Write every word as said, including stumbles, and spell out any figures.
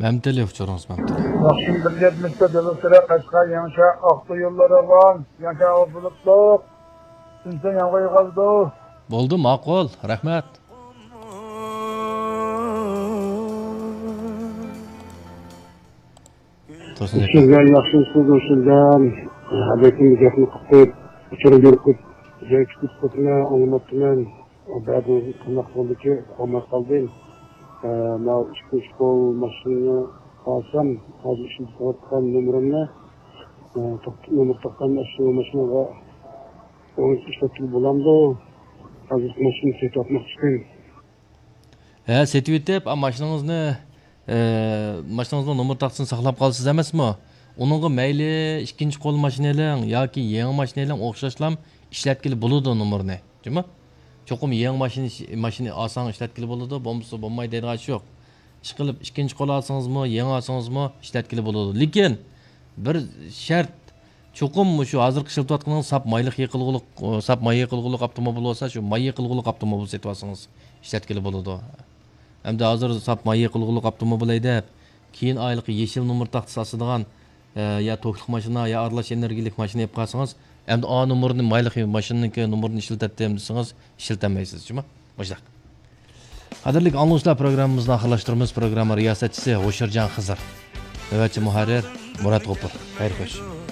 مەمتىلى، ئۇچۇرىڭىز مەمتىلى. ماخشىنا بىر يەتمىش تۆت، يولى سۈرە، قەشقەر، يېڭىچە، ئاقسۇ يوللىرى بار. يېڭىچە ھاۋا بۇلۇتلۇق. تۈنسە يامغۇر ياغىدۇ. بولدى، ماقۇل، رەھمەت. تۇرسۇن ئاكا. سىزگە ياخشى، سىز ئۇچۇردا ھەدەكىم گەپنى قىلىپ، ئۇچۇرنى بېرىپ، جاي كۈتۈپ قوپنا ئاڭلىماپتىمەن. بەزى قانداق بولدىكى، ئۇقالماي قالدىم. ئە، ماۋۇ ئىككى شكول ماشىنىنى ئالسام، ھازىر ئىشلىتىۋاتقان نومۇرۇمنى، ئە، توق-، نومۇر تاققان ئاشۇ ماشىنىغا ئوڭ ئىشلەتكىلى بولامدۇ؟ ھازىر ماشىنا سېتىۋاتماقچىكەن. ھە، سېتىۋېتىپ، ئا، ماشىنىڭىزنى، ئە، ماشىنىڭىزنىڭ نومۇر تاختىسىنى ساقلاپ قالىسىز ئەمەسمۇ؟ ئۇنىڭغا مەيلى ئىككىنچى قول ماشىنا ئېلىڭ ياكى يېڭى ماشىنا ئېلىڭ، ئوخشاشلام ئىشلەتكىلى بولىدۇ نومۇرنى. جۇمۇ؟ چوقۇم يېڭى ماشىنا، ماشىنا ئالساڭ ئىشلەتكىلى بولىدۇ، بولمىسا بولمايدۇ دەيدىغان ئىش يوق. ئىشقىلىپ، ئىككىنچى قول ئالسىڭىزمۇ، يېڭى ئالسىڭىزمۇ ئىشلەتكىلى بولىدۇ. لېكىن بىر شەرت، چوقۇم مۇشۇ ھازىرقى ئىشلىتىۋاتقىنىڭىز ساپ مايلىق يېقىلغۇلۇق، ساپ ماي يېقىلغۇلۇق ئاپتوموبىل بولسا، شۇ ماي يېقىلغۇلۇق ئاپتوموبىل سېتىۋالسىڭىز ئىشلەتكىلى بولىدۇ. ئەمدى ھازىر ساپ ماي يېقىلغۇلۇق ئاپتوموبىل ھەيدەپ، كېيىن ئايلىقى يېشىل نومۇر تاختىسى ئاسىدىغان، ئە، يا توكلۇق ماشىنا، يا ئارىلاش ئېنېرگىيەلىك ماشىنا ئېلىپ قالسىڭىز، ئەمدى ئا نومۇرنى، مايلىق ماشىنىنىڭكى نومۇرىنى ئىشلىتەتتىم دېسىڭىز، ئىشلىتەلمەيسىز، جۇمۇ؟ مۇشۇنداق. قەدىرلىك ئاڭلىغۇچىلار، پروگراممىمىزنى ئاخىرلاشتۇرىمىز. پروگرامما رىياسەتچىسى ھوشيارجان خىزىر. نۆۋەتچى مۇھەررىر مۇرات غوپۇر. خەير خوش.